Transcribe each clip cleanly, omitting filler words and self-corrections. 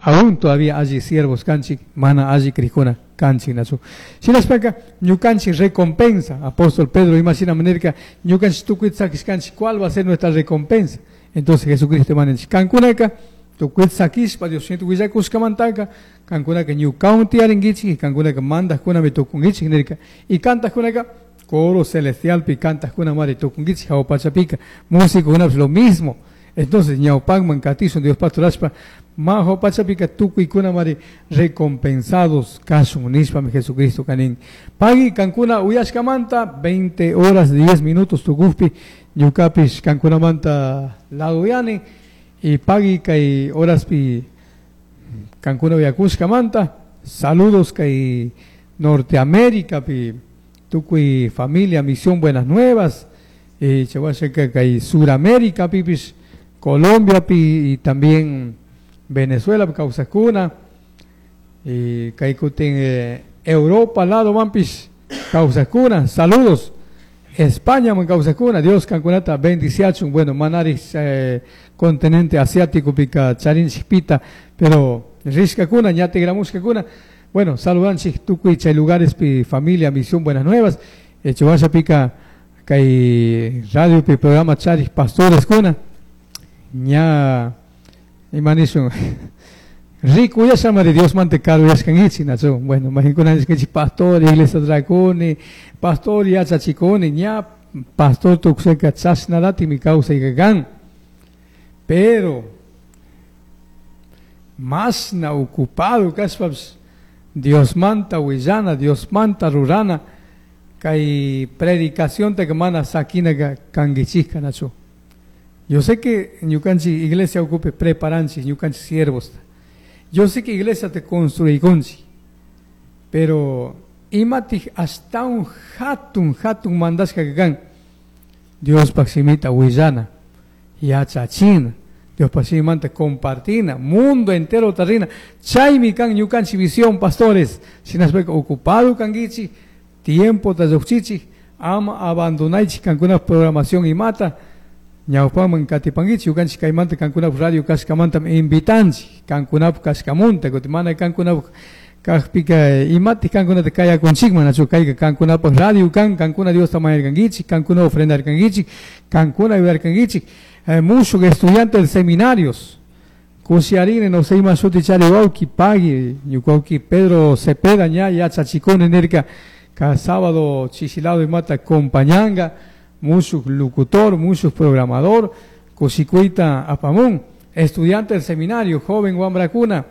Aún todavía alli siervos kanchik, mana alli crijkuna kanchik nachu. Shinashpaka ñukanchik recompensa, apóstol Pedro imashina nirka, ñukanchik tukuyta sakishkanchik, ¿cuál va a ser nuestra recompensa? Entonces Jesucristo imaninchik, kankunaka tukuyta sakishpa Dios willakushkamantaka, kankunaka ñukawan tiyarinkichik y kankunaka mandajkunami tukunkichik nirka. Y kantajkunaka coro celestialpi kantajkunamari tukunkichik jahua pachapika, músicokunapish lo mismo. Entonces ñawpakman katishun Dios pastorashpa, majo pachapika tukuykunamari recompensados kashun nishpami Jesucristo kanin. Pagui kankuna uyashkamanta 20 horas 10 minutos tukukpi ñukapish kankunamanta laduyani y pagui kay horaspi kankuna uyakushkamanta saludos kay Norteamérica pi tukuy familia Misión Buenas Nuevas y chawashaka kay Suramérica pipish Colombia pi y también Venezuela kawsakuna y kay kutin Europa lado manpish kawsakuna saludos España man kawsakuna Dios kankunata bendiciachun. Bueno, manari continente asiático pika charinchikpita, pero rishkakuna ña tigramushkakuna. Bueno, saludanchik tukuy chay lugares pi familia Misión Buenas Nuevas, chawasha pika kay radio pi programa charik pastores kuna ña imanishun rikuyashamari Dios mante karuyashkankichik nachu. Bueno, majikunanchik pastor iglesia trakuni, pastor yachachikuni, ña pastor tukuseka chashnalatikmi kawsayka kan, pero mashna ocupado kashpapish Diosmanta willana, Diosmanta rurana, kay predicacionta mana sakinaka kankichikka nachu. Yo sé que ñukanchik iglesia ocupe preparanchik ñukanchik siervos. Yo sé que iglesia te construikunchik, pero imatik ashtawan hatun hatun mandashka kan Diospaj shimita willana, yachachina, Diospaj shimimanta compartina, mundo entero tarrina. Chaymi kan ñukanchik visión, pastores. Shinashpaka ocupado kankichik, tiempo llukchichik, ama abandonaychik kankuna programación imata, ñawpaman katipankichik, ñukanchik kaymanta kankunapaj radio kashkamanta invitanchik, kankunapaj kashkamunta, kutin mana kankunapaj kajpika imatik kankunata kayakunchikman, nachu kayka kankunapaj radio kan, kankuna Diosta mañarkankichik, kankuna ofrendarkankichik, kankuna ayudarkankichik, mushuk estudiante del seminarios, kushiarine no sé ima shuti chari wawki pagui, ñuka wawki Pedro Cepeda ña yachachikuni nirka, cada sábado chishilado imata acompañanga, mushuk locutor, mushuk programador, kushikuyta apamun, estudiante del seminario, joven wambrakuna,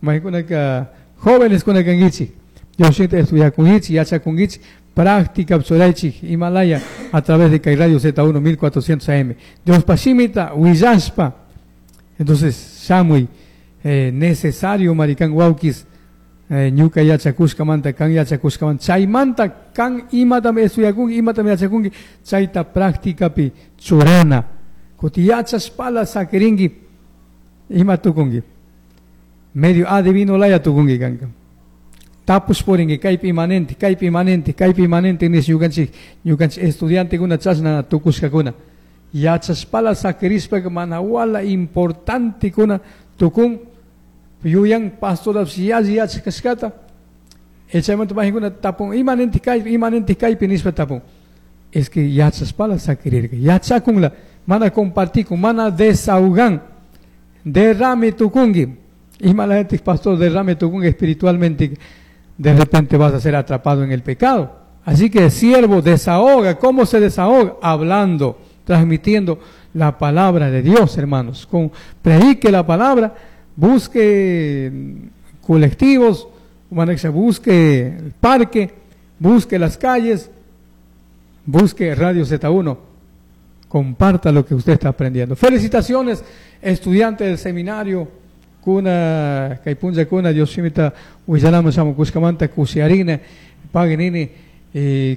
maykunaka jóvenes kuna kankichik, Diosita estudiakunkichik, yachakunkichik, práctica churaychik Himalaya a través de kay Radio Z1 1400 AM. Diospa shimita willashpa. Entonces, shamuy, necesario marikan wawkis, ñuka yachakushkamanta, kan yachakushkamanta, chaymanta kan imatam estudiakunki, imatam yachakunki, chayta prácticapi churana. Kuti yachashpala sakirinki, ima tukunki. Medio adivino laya tukunki kanka. Tapush purinki, kaypi imanente, kaypi imanente, kaypi imanente, nish ñukanchik, ñukanchik estudiantekuna chashna tukushkakuna. Yachashpala sakirishpaka mana wala importantekuna tukun, yuyan pastorapish yalli yachak kashkata, chaymanta majikuna tapun, imanente kaypi, imanente kaypi nishpa tapun. Es que yachashpala sakirirka, yachakunla, mana compartikun, mana desahogan, derrame tukunki. Imalayantik pastor, derrame tukunki espiritualmente, de repente vas a ser atrapado en el pecado. Así que siervo desahoga. ¿Cómo se desahoga? Hablando, transmitiendo la palabra de Dios, hermanos. Con, predique la palabra, busque colectivos, busque el parque, busque las calles, busque Radio Z1. Comparta lo que usted está aprendiendo. Felicitaciones, estudiante del seminario. Kuna, kaypunlla kuna, Dios shimita willanaman shamukushkamanta kushiarina, paguinini,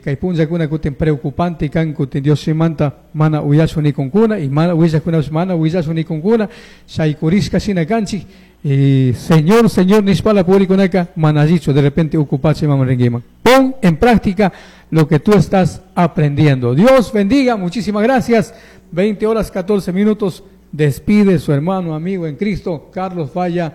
kaypunlla kuna kutin preocupante kan kutin Dios shimanta mana uyashun nikunkuna, y mana willakuna mana willashun nikunkuna, shaykurishka shina kanchik, y Señor, Señor, nishpala purikunaka, mana allichu, de repente ocupache maman. Pon en práctica lo que tú estás aprendiendo. Dios bendiga, muchísimas gracias. 20 horas 14 minutos. Despide su hermano, amigo en Cristo, Carlos Falla.